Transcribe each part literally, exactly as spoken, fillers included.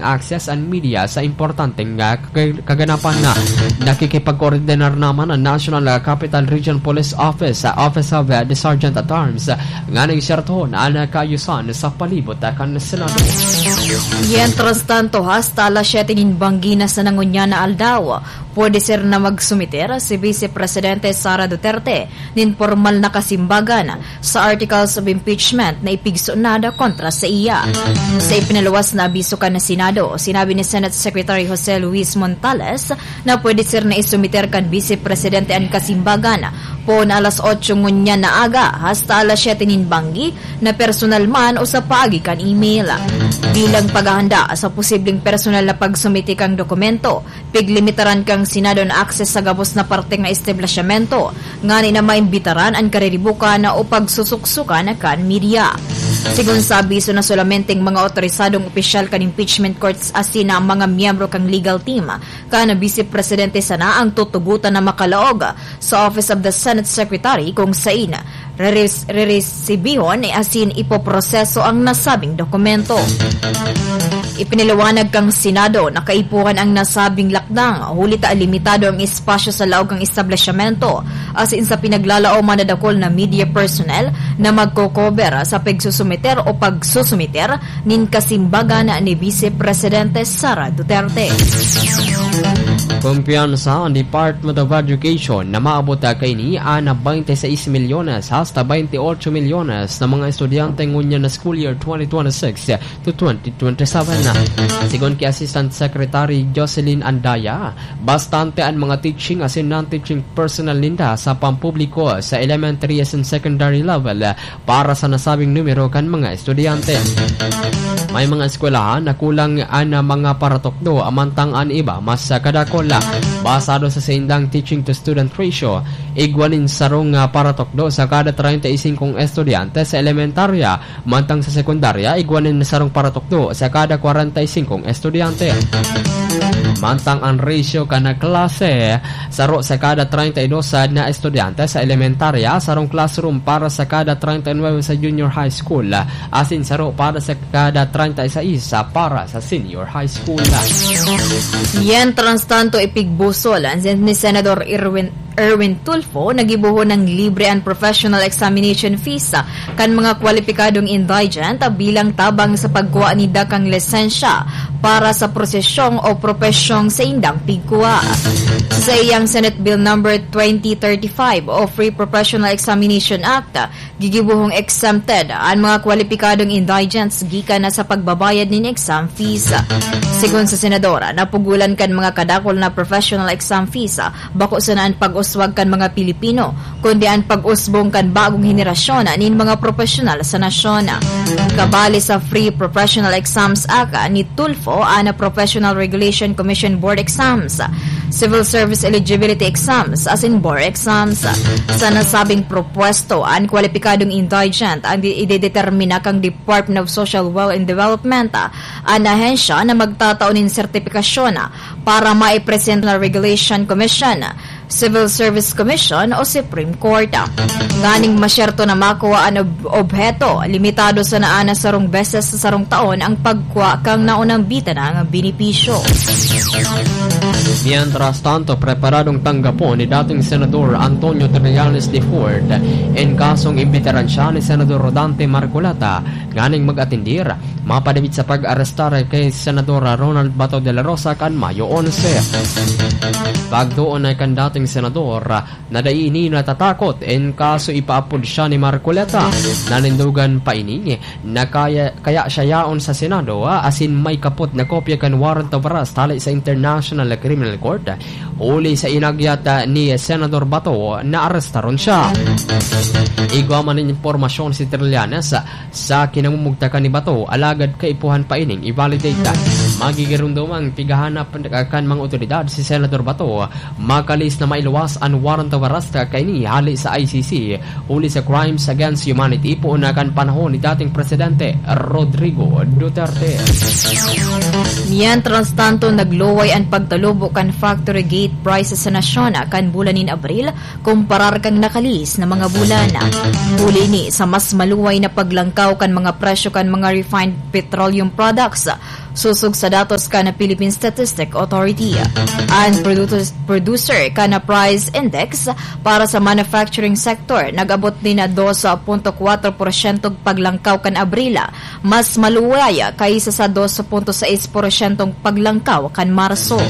access an media sa importanteng, ah, kag-, kaganapan na nakikipagkoordinar naman ang National, ah, Capital Region Police Office sa Office of, ah, the Sergeant at Arms, ah, nganing sertohon an kaayusan sa palibot, ah, kan Senado. Mientras tanto, hasta alas siyete nin banggi na sa nangunyan na aldaw, pwede ser na magsumiter si Vice Presidente Sara Duterte nin pormal na kasimbagan sa articles of impeachment na ipigsunod kontra sa iya. Sa ipinaluwas na abiso kan Senado, sinabi ni Senate Secretary Jose Luis Montales na pwede ser na isumiter kan Vice Presidente an kasimbagan poon alas otso ngunyan na aga hasta alas siyete nin banggi na personal man o sa paagi kan email. Bilang paghahanda sa posibleng personal na pagsumite kan dokumento, piglimitaran kan Senado an access sa gabos na parte nga establisyamento, ngani na maimbitaran an kariribukan o pagsusuksukan kan media. Sigon sa abiso na solamenteng mga otorisadong opisyal kan impeachment courts asin na mga miyembro kan legal team kan Vice Presidente sana ang tutugotan na makalaog sa Office of the Senate Secretary kung sain reres-, reresibihon asin ipoproseso ang nasabing dokumento. Ipinaliwanag kan Senado na kaipuhan ang nasabing lakdang, huli ta limitado ang espasyo sa laog kan establisyamento, asin sa pinaglalaom an dakul na media personnel na magko-cover sa pagsusumiter o pagsusumiter nin kasimbagan ni Vice Presidente Sara Duterte. Kumpiyansa an Department of Education na maabot kaini an twenty-six milyones hasta twenty-eight milyones na mga estudyante ngunyan na school year twenty twenty-six to twenty twenty-seven. Sigon ki Assistant Secretary Jocelyn Andaya, bastante an mga teaching asin non-teaching personnel ninda sa pampubliko sa elementary asin secondary level para sa nasabing numero kan mga estudyante. May mga eskwelahan na kulang an mga paratukdo, amantang an iba mas kadakol. Basado sa saindang teaching to student ratio, igwa nin sarong, ah, paratukdo sa kada treinta y cinco estudyante sa elementarya, mantang sa sekundarya, igwa nin sarong paratukdo sa kada kwarenta y singkong estudyante. Mantang an ratio kan klase, saro sa kada treinta y dos na estudyante sa elementarya, sarong classroom para sa kada treinta y nueve sa junior high school, asin saro para sa kada treinta y seis para sa senior high school. Mientras tanto, ipigbusol ni Senador Erwin Erwin Tulfo, nagibohon nin libre an professional examination fees, ah, kan mga kwalipikadong indigent, ah, bilang tabang sa pagkua ninda kan lisensya para sa prosesyong o propesyong saindang pigkua. Sa iyang Senate Bill Number twenty thirty-five o Free Professional Examination Act, ah, gigibohong exempted an mga kwalipikadong indigents gikan na sa pagbabayad nin exam fees. Sigon sa senadora, napugolan kan mga kadakul na professional exam fees, bako sana an pag-uswag kan mga Pilipino, kundi an pag-usbong kan bagong henerasyon nin mga profesyonal sa nasyon. Kabali sa Free Professional Exams Act ni Tulfo, an Professional Regulation Commission Board Exams, Civil Service Eligibility Exams, asin bar exams. Sa nasabing propuesto, an kwalipikadong indigent ang di-, idedetermina kan Department of Social Welfare and Development, an ahensya na magtatao nin sertipikasyon para maipresenta sa Regulation Commission, Civil Service Commission o Supreme Court. Nganing masyerto na makua an ob-, obheto, limitado sana an sarong beses sa sarong taon ang pagkua kan naunang bitanang benepisyo. Mientras tanto, preparadong tanggapon ni dating Senador Antonio Trillanes de Fort an kasong imbitaran siya ni Senador Dante Marcoleta nganing mag-atendir mapadagit sa pag-arestar kay Senador Ronald Bato de la Rosa kan Mayo onse. Pagtuon na kan dating senador na dai ini natatakot in kaso ipaapod siya ni Marcoleta. Nanindogan pa ini na kaya, kaya siya yaon sa Senado, ah, asin may kapot na kopya kan warrant of arrest hali sa International Criminal Court. Huli sa inagyat, ah, ni Senador Bato na arestaron siya. Igwa man nin impormasyon si Trillanes, ah, sa kinamumugtakan ni Bato, alagad kaipuhan pa ining i-validate. Magigirumdom ang pighahanap kan mga otoridad si Senador Bato, makalis na mailuwas an warrant of arrest kaini hali sa I C C, huli sa Crimes Against Humanity, poon na kan panahon ni dating Presidente Rodrigo Duterte. Mientras tanto, nagluway an pagtalubo kan factory gate prices sa nasyon kan bulan nin Abril, kumparar kan nakalihis na mga bulan. Huli ini sa mas maluway na paglangkaw kan mga presyo kan mga refined petroleum products, Sosog sa datos kan Philippine Statistic Authority, an producer, producer kan price index para sa manufacturing sector nag-abot nin dos punto kwatro porsyentong paglangkaw kan Abril, mas maluway kaysa sa dos punto sais porsyentong paglangkaw kan Marso.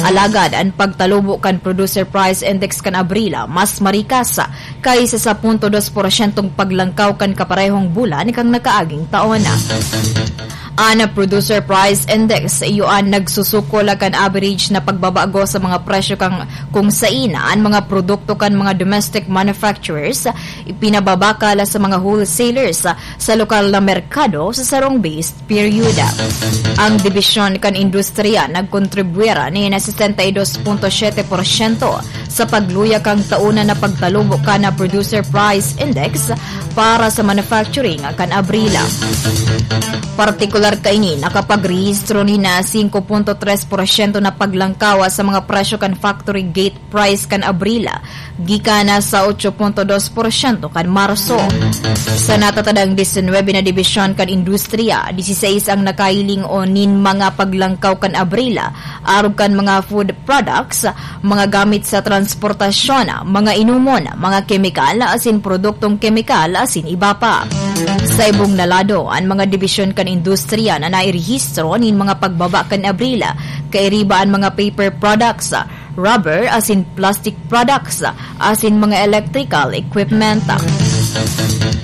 Alagad an pagtalubo kan producer price index kan Abril mas marikas kaysa sa punto dos porsyentong paglangkaw kan kaparehong bulan kan nakaaging taon. An Producer Price Index, iyo an nagsusukol kan average na pagbabago sa mga presyo kan kung sain an mga produkto kan mga domestic manufacturers ipinababakal sa mga wholesalers sa lokal na merkado sa sarong base period. Ang dibisyon kan industriya nagkontribuyar nin sesenta y dos punto siete porsyento sa pagluya kan taon na pagtalubo kan Producer Price Index para sa manufacturing kan Abril. Partikular kaini, nakapagrehistro nin singko punto tres porsyento na paglangkaw sa mga presyo kan factory gate price kan Abril, gikan sa otso punto dos porsyento kan Marso. Sa natatadang disinwebe na dibisyon kan industriya, disisais ang nakahiling o nin mga paglangkaw kan Abril, arog kan mga food products, mga gamit sa transportasyon, mga inomon, mga kemikal, asin produktong kemikal, asin iba pa. Sa ibong na lado, an mga dibisyon kan industriya na nairehistro nin mga pagbaba kan Abril, kairiba an mga paper products, rubber, asin plastic products, asin mga electrical equipment.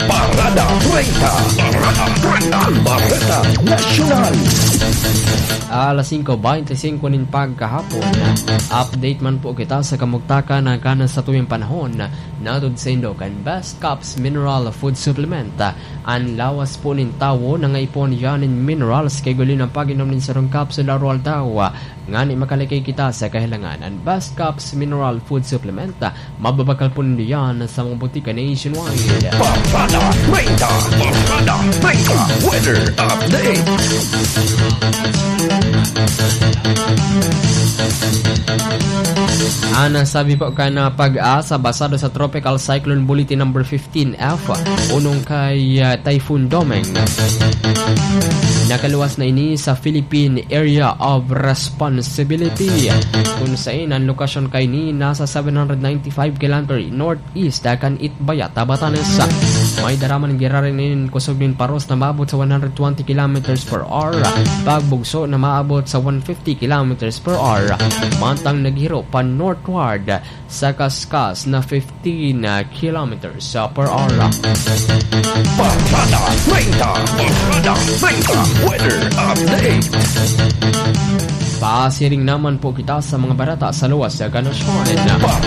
Parada treinta. Parada treinta. Bareta Nasyonal. Alas singko beinti singko nin pagkahapon, update man po kita sa kamugtakan na kanan sa tuyang panahon, natud sa indo kan Best Caps Mineral Food Supplement. An lawas po nin tawo nangaipon yan nin minerals, kay guli ng pag-inom nin sarong capsule araw-araw, ngani makalikay kita sa kahilangan. An Best Caps Mineral Food Supplement, mababakal po nindo yan sa mga butika nationwide. Parada treinta, Parada treinta, weather update. Ana, sabi po kan, ah, PAGASA, basado sa Tropical Cyclone Bulletin number fifteen F, unong kay, ah, Typhoon Domeng. Nakaluwas na ini sa Philippine Area of Responsibility, kun sain an lokasyon kaini nasa seven hundred ninety-five kilometer northeast kan Itbayat, Batanes. May daraman giraray nin kusog nin paros na maabot sa one hundred twenty kilometers per hour, pagbugso na maabot sa one fifty kilometers per hour, mantang naghiro pa northward sa kaskas na fifteen kilometers per hour. Parada treinta, Parada treinta, weather update. Pasiring naman po kita sa mga bareta sa luwas kan nasyon.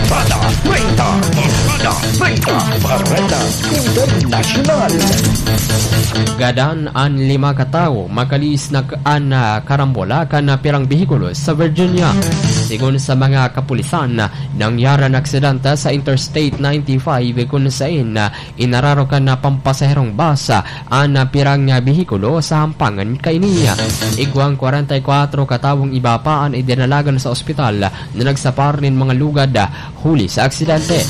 Parada treinta, Parada treinta, Bareta Internasyonal. Gadan an lima ka tawo, makalihis na k-, an, ah, karambola kan, ah, pirang behikulo sa Virginia. Sigon sa mga kapulisan, nangyari an aksidente sa Interstate ninety-five, kun sain, ah, inararo kan, ah, pampasaherong bus, ah, an, ah, pirang, ah, behikulo sa hampangan kaini. Igwang kwarenta y kwatro ka tawong iba pa an idinalagan sa ospital na nagsapar nin mga lugad, ah, huli sa aksidente.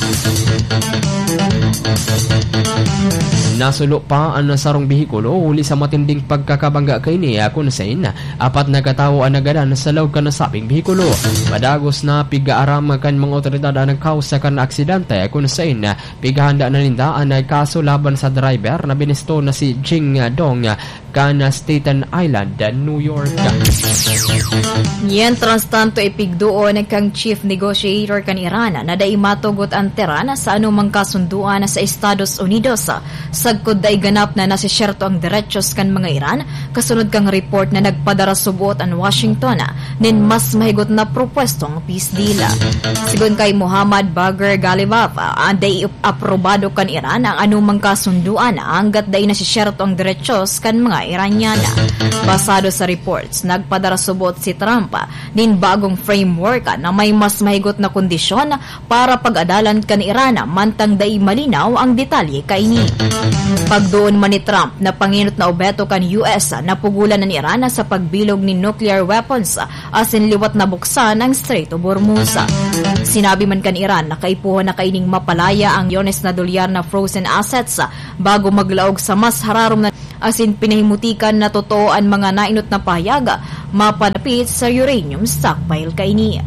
Nasulo pa an sarong behikulo huli sa matinding pagkakabangga kaini, kun sain apat na katawo an nagadan sa laog kan nasabing behikulo. Padagos na pig-aaram kan mga otoridad an nagkausa kan aksidente, kun sain pighahanda na ninda an kaso laban sa driver na binisto na si Jing Dong kan Staten Island, New York. Mientras tanto, ipigduon kan chief negotiator kan Iran na dai matugot an Tehran sa anumang kasunduan sa Estados Unidos, sagkod dai ganap na nasisyerto ang derechos kan mga Iran, kasunod kan report na nagpadara subot an Washington nin mas mahigot na propwestong peace deal. Sigon kay Muhammad Bagher Ghalibaf, ah, dai aprobado kan Iran ang anumang kasunduan hanggat dai nasisyerto ang derechos kan mga Iranian. Basado sa reports, nagpadara subot si Trump nin bagong framework na may mas mahigot na kondisyon para pag-adalan kan Iran, mantang dai malinaw ang detalye kaini. Pagduon man ni Trump na pangenot na obheto kan U S, napugolan an Iran sa pagbilog nin nuclear weapons asin liwat na buksan ang Strait of Hormuz. Sinabi man kan Iran na kaipuhan na kaining mapalaya ang milyones na dolyar na frozen assets bago maglaog sa mas hararom na asin pinahimutikan na totoo an mga nainot na pahayag mapanapit sa uranium stockpile kaini.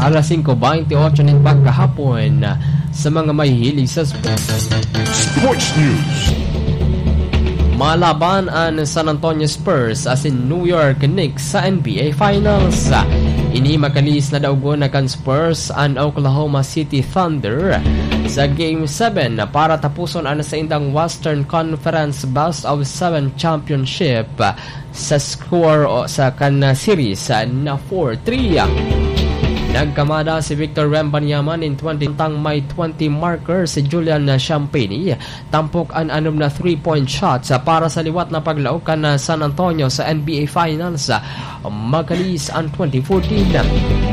Alas singko baynte otso nin pagkahapon, sa mga mahihilig sa sp-, Sports News. Malaban an San Antonio Spurs asin New York Knicks sa N B A Finals. Ini makalihis na daogon na kan Spurs an Oklahoma City Thunder sa Game seven para tapuson an saindang Western Conference Best of Seven Championship sa score o sa kan series na four three. Nagkamada si Victor Wembanyama nin twenty, samtang may twenty marker si Julian Champagnie. Tampok an anom na three-point shots para sa liwat na paglaog kan San Antonio sa N B A Finals. Makalihis an twenty fourteen.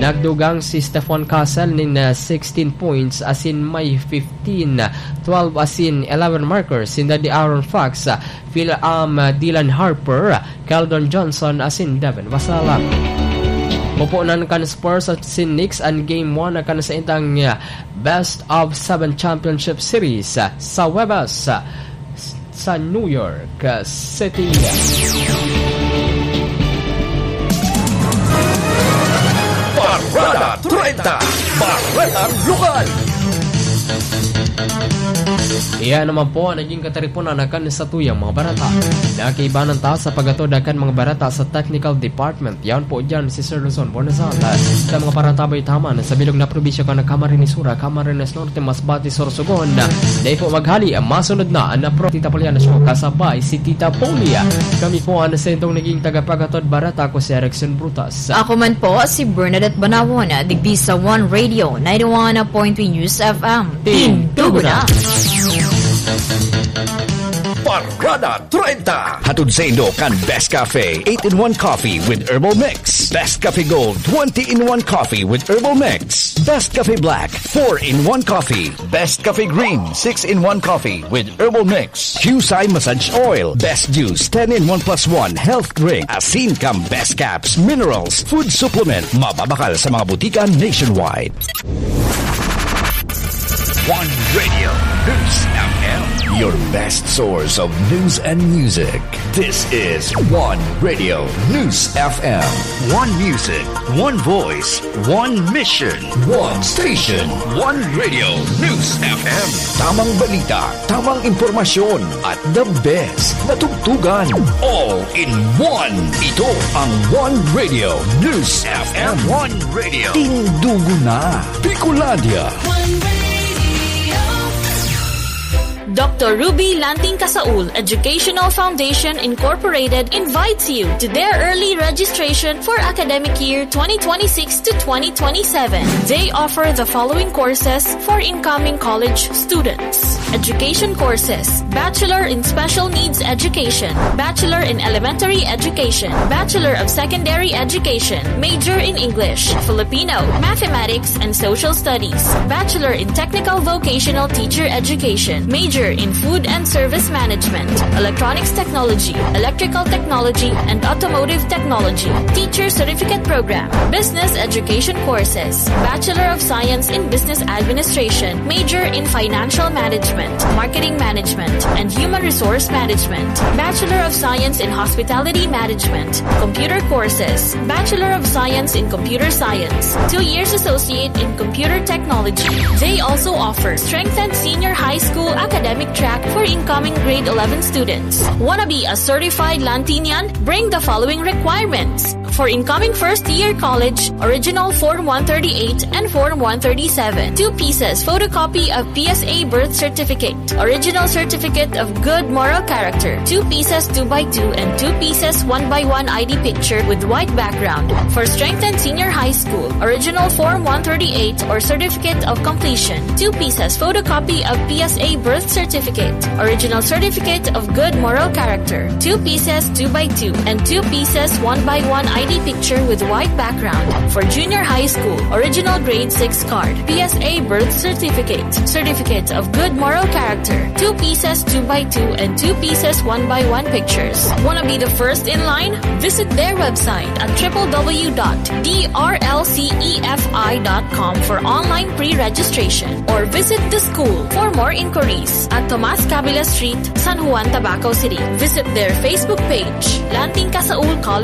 Nagdugang si Stephon Castle nin, ah, sixteen points asin may fifteen, twelve asin eleven markers sinda De'Aaron Fox, Phil, um, Dylan Harper, Keldon Johnson asin Devin Vassell. Pupunan kan Spurs asin Knicks an Game one kan saindang, ah, Best of Seven Championship Series, ah, sa Huwebes, ah, sa New York, ah, City. Parada treinta, Baretang Lokal. Iyan naman po ang naging kataripunan na kan satuyang mga barata. Nakaibanan ta sa paghatod na kan mga barata sa technical department. Yan po dyan si Sir Luzon Bonazal. Sa mga parantabay taman, sa bilog na probinsya kan Camarines Sur, Camarines Norte, Masbate, Sorsogon. Dai po maghali, masunod na ang napro Tita Poliana Show kasabay si Tita Polia. Kami po ang sentong naging tagapaghatod barata ko si Erickson Brutas. Ako man po si Bernadette Banawon, digdi sa One Radio, ninety-one point three News F M. Tindugo na! Parada treinta. Hatod saindo kan Best Cafe, eight-in-one Coffee with Herbal Mix. Best Cafe Gold, twenty-in-one Coffee with Herbal Mix. Best Cafe Black, four-in-one Coffee. Best Cafe Green, six-in-one Coffee with Herbal Mix. Qcye Massage Oil, Best Juice, ten-in-one plus one Health Drink. Asin kan Best Caps, Minerals, Food Supplement. Mababakal sa mga butika nationwide. One Radio News F M, your best source of news and music. This is One Radio News F M. One music, one voice, one mission. One station. One Radio News F M. Tamang balita, tamang impormasyon, at the best na tugtugan. All in one. Ito ang One Radio News F M. One Radio. Tindugo na, Bicolandia. One Radio. Doctor Ruby Lanting Casaul Educational Foundation Incorporated invites you to their early registration for academic year twenty twenty-six to twenty twenty-seven. They offer the following courses for incoming college students. Education courses: Bachelor in Special Needs Education, Bachelor in Elementary Education, Bachelor of Secondary Education, major in English, Filipino, Mathematics, and Social Studies, Bachelor in Technical Vocational Teacher Education, major in Food and Service Management, Electronics Technology, Electrical Technology, and Automotive Technology, Teacher Certificate Program, Business Education Courses, Bachelor of Science in Business Administration, major in Financial Management, Marketing Management, and Human Resource Management, Bachelor of Science in Hospitality Management, Computer Courses, Bachelor of Science in Computer Science, two years Associate in Computer Technology. They also offer strengthened senior high school academic track for incoming grade eleven students. Wanna be a certified Lantinian? Bring the following requirements. For incoming first year college, original Form one thirty-eight and Form one thirty-seven. Two pieces photocopy of P S A birth certificate. Original certificate of good moral character. Two pieces two by two and two pieces one by one I D picture with white background. For strengthened senior high school, original Form one thirty-eight or certificate of completion. Two pieces photocopy of P S A birth certificate. Original certificate of good moral character. Two pieces two by two and two pieces one by one I D picture with white background. For junior high school, original grade six card, P S A birth certificate, certificate of good moral character, two pieces, two by two and two pieces, one by one pictures. Wanna be the first in line? Visit their website at triple W dot D R L C E F I dot com for online pre-registration or visit the school for more inquiries at Tomas Cabela Street, San Juan, Tabaco City. Visit their Facebook page, Landing Casaul College